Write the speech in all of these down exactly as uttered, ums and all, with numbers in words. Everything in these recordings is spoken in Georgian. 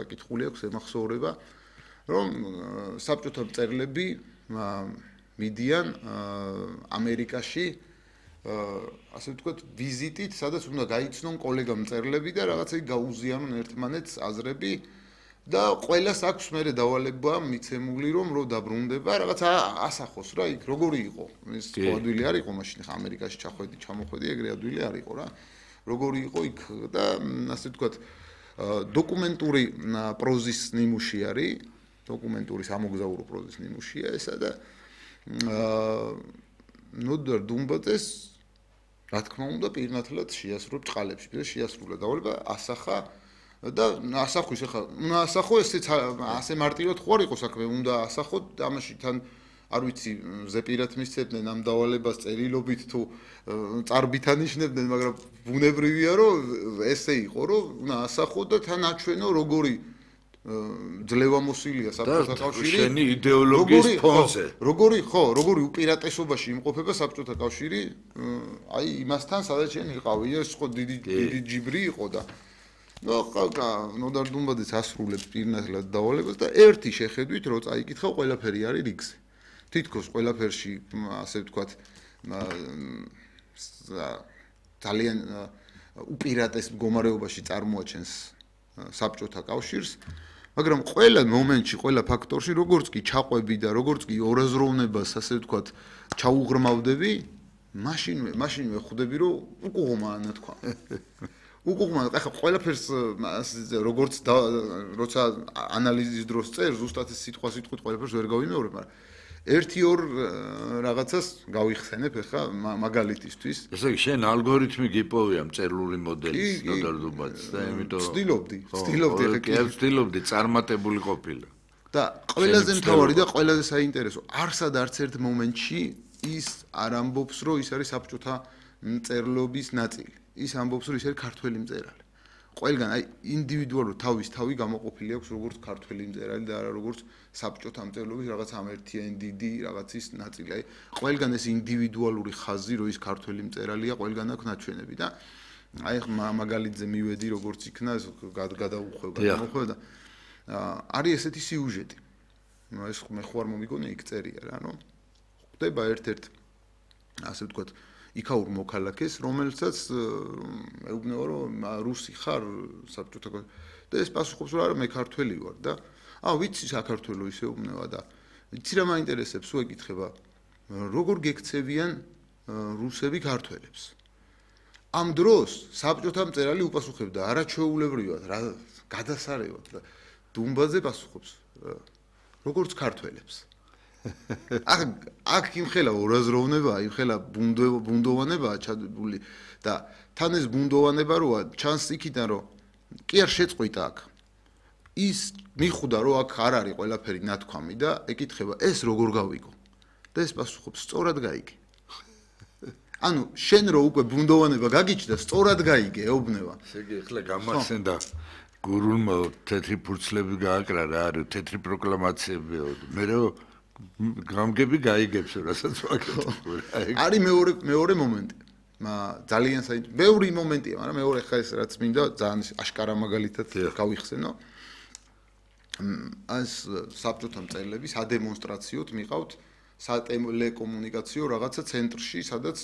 საკითხული აქვს ემახსოვრება, რომ საბჭოთა მწერლები მიდიან ამერიკაში ასე ვთქვათ ვიზიტით, სადაც უნდა გაიცნონ კოლეგა მწერლები და რაღაცა გაუზიანონ ერთმანეთს აზრები და ყველას აქვს მერე დავალება მიცემული რომ რო დაბრუნდება რაღაცა ასახოს რა იქ როგორი იყო ეს адვილი არ იყო მაშინ ხა ამერიკაში ჩახვედი ჩამოხვედი ეგრე адვილი არ იყო რა როგორი იყო იქ და ასე ვთქვათ დოკუმენტური პროზის ნიმუში არის დოკუმენტური სამოგზაურო პროზის ნიმუშია ესა და ნოდარ დუმბაძეს რა თქმა უნდა პირნათლად შეასრულა ჭყალებში და შეასრულა დავალება ასახა და ასახვის ახლა უნდა ასახო ესეც ასე მარტივად ხო არ იყო საქმე უნდა ასახოთ ამაში თან არ ვიცი ზეპირად მისცემდნენ ამ დავალებას წერილობით თუ წარბით ანიშნებდნენ მაგრამ ბუნებრივია რომ ესე იყო რომ უნდა ასახო და თან აჩვენო როგორი ძლევამოსილია საბჭოთა კავშირი შენი იდეოლოგიის ფონზე როგორი ხო როგორი უპირატესობაში იმყოფება საბჭოთა კავშირი აი იმასთან სადაც შენ იყავი ეს ხო დიდი დიდი ჯიბრი იყო და ნუ ხალხა ნოდარ დუმბაძეს ასრულებს პირნათლად დავალებას და ერთი შეხედვით რო წაიკითხავ ყველაფერი არის რიგზე თითქოს ყველაფერში ასე ვთქვათ ძალიან უპირატეს მდგომარეობაში წარმოაჩენს საბჭოთა კავშირს მაგრამ ყველა მომენტში, ყველა ფაქტორში, როგორც კი ჩაყვები და როგორც კი ორაზროვნებას, ასე ვთქვათ, ჩაუღრმავდები, მაშინვე, მაშინვე ხვდები, რომ უკუღმაა ნათქვა. უკუღმაა, ახლა ყველაფერს როგორც როცა ანალიზის დროს წერ, ზუსტად სიტყვა სიტყვით ყველაფერს ვერ გავიმეორებ, მაგრამ ერთი ორ რაღაცას გავიხსენებ ახლა მაგალითისთვის. ესე იგი, შენ ალგორითმი გიპოვია მწერლული მოდელის ნოდარ დუმბაძეს და იმიტომ ვცდილობდი, ვცდილობდი ახლა კი ვცდილობდი წარმატებული ყოფილა. და ყველაზე მთავარი და ყველაზე საინტერესო, არსად არც ერთ მომენტში ის არ ამბობს, რომ ის არის საბჭოთა მწერლობის ნაწილი. ის ამბობს, რომ ის არის ქართველი მწერალი. ყველგან აი ინდივიდუალურ თავის თავი გამოყოფილი აქვს როგორც ქართველი მწერალი და არა როგორც საბჭოთა მწერლობის რაღაც ამერთიანი დიდი რაღაცის ნაწილი. აი ყველგან ეს ინდივიდუალური ხაზი რომ ის ქართველი მწერალია, ყველგან აქვს ნაჩვენები და აი მაგალითზე მივედი როგორც იქნა ეს გადაუხვევ გადამოხვევ და არის ესეთი სიუჟეტი. ეს მე ხო არ მომიგონე იქ წერია რა, ნუ ხდება ერთ-ერთ ასე ვთქვათ იქაურ მოქალაქეს, რომელსაც ეუბნება რომ რუსი ხარ საბჭოთა და ეს პასუხობს რომ არა მე ქართველი ვარ და აა ვიცი საქართველო ისე ეუბნება და ვიცი რა მაინტერესებს უ ეკითხება როგორ გექცევიან რუსები ქართველებს ამ დროს საბჭოთა მწერალი უპასუხებდა არაჩვეულებრივად რა გადასარევად და დუმბაძე პასუხობს როგორც ქართველებს აქ აქ იმხელა ორაზროვნება, იმხელა ბუნდოვანება ჩადებული და თან ეს ბუნდოვანება როა ჩანს იქიდან რომ კი არ შეწყვიტა აქ. ის მიხვდა რომ აქ არ არის ყველაფერი ნათქვამი და ეკითხება ეს როგორ გავიგო. და ეს პასუხობს სწორად გაიგე. ანუ შენ რო უკვე ბუნდოვანება გაგიჩნდა სწორად გაიგე, ეუბნება. ესე იგი ახლა გამახსენდა გურულმა თეთრი ფურცლები გააკრა რა არის თეთრი პროკლამაციები მე რომ გამგები გაიგებს რასაც ვაკეთებ. არის მეორე მეორე მომენტი. ძალიან საინტერესო. ბევრი მომენტია, მაგრამ მეორე ხა ეს რაც მინდა ძალიან აშკარა მაგალითად გავიხსენო. ეს საბჭოთა მწერლების ადემონსტრაციოდ მიყავთ სატელეკომუნიკაციო რაღაცა ცენტრში, სადაც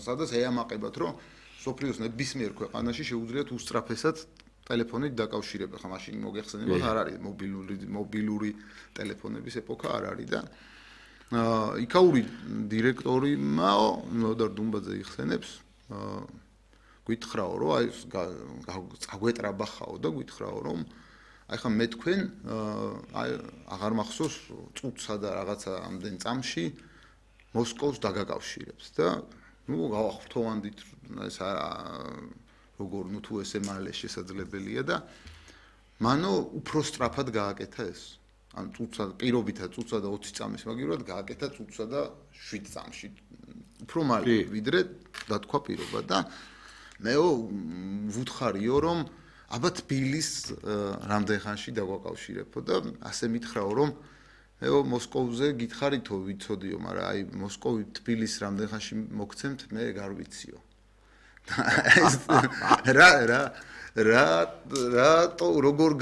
სადაც ეამაყებათ, რომ სოფლიოს ნებისმიერ ქვეყანაში შეუძლიათ უსწრაფესად ტელეფონით დაკავშირება, ხა მაშინ მოგეხსენებათ არ არის მობილური მობილური ტელეფონების ეპოქა არ არის და იქაური დირექტორი მაო ნოდარ დუმბაძე იხსენებს გითხრაო რომ აი გაგვეტრაბახაო და გითხრაო რომ აი ხა მე თქვენ აი აღარ მახსოვს წუთსა და რაღაცა ამდენ წამში მოსკოვს დაგაკავშირებს და ნუ გავახვთოვანდით ეს როგორ ნუ თუ ესე მალე შესაძლებელია და მანო უფრო სწრაფად გააკეთა ეს ან წუთსა პირობითად წუთსა და ოცი წამის მაგივრად გააკეთა წუთსა და შვიდ წამში უფრო მალე ვიდრე დათქვა პირობა და მეო ვუთხარიო რომ აბა თბილის რამდენ ხანში დაგვაკავშირებო და ასე მითხრაო რომ მეო მოსკოვზე გითხარითო ვიცოდიო მაგრამ აი მოსკოვი თბილის რამდენ ხანში მოგცემთ მე გარ ვიციო რა რა რა რა როგორ